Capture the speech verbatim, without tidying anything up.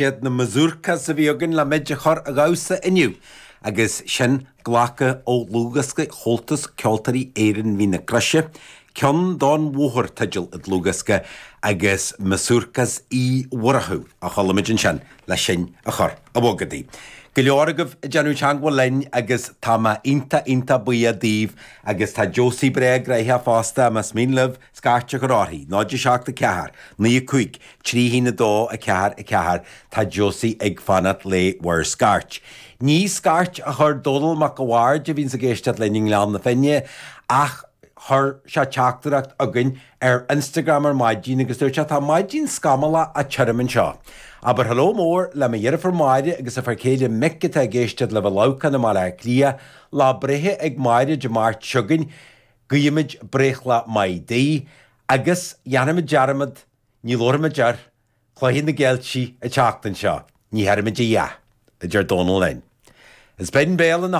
Siad na mazurkas a bhí againn le muid a chur ag damhsa inniu. Agus sin glactha ó dhlúthdhiosca Chomhaltas Ceoltóirí Éireann Mhín na Croise, Ceann don Bhóthar teideal an dlúthdhiosca agus Mazurkas Uí Mhurchú a chuala muid ansin le sinn a chur ag bogadaí. Go leor agaibh ag déanamh teagmháil linn agus tá mé iontach iontach buíoch daoibh agus tá Josie breá gnoitheach fosta más mian libh scairt a chur uirthi, náid a seacht a ceathair, naoi a cúig, trí haon a dó a ceathair a ceathair, tá Josie ag fanacht le bhur scairt. Ní scairt a chuir Dónal Mac a' Bhaird a bhíonns ag éisteacht linn i nGleann na Finne ach chuir sé teachtaireacht chugainn ar Instagram ar maidin agus dúirt sé tá maidin scamallach tirim anseo. Abair hello mór le mo dheirfiúr Máire agus a fear céile Mick atá ag éisteacht libh i Leamhcán i mBaile Átha Cliath, lá breithe ag Máire Dé Máirt seo chugainn, guímid breithlá maith di, agus dhéanfaimid dearmad, ní labharfaimid ar Chluiche na gCeiltigh an tseachtain seo, ní dhéarfaimid a dhath, a deir Dónal linn. Is binn béal ina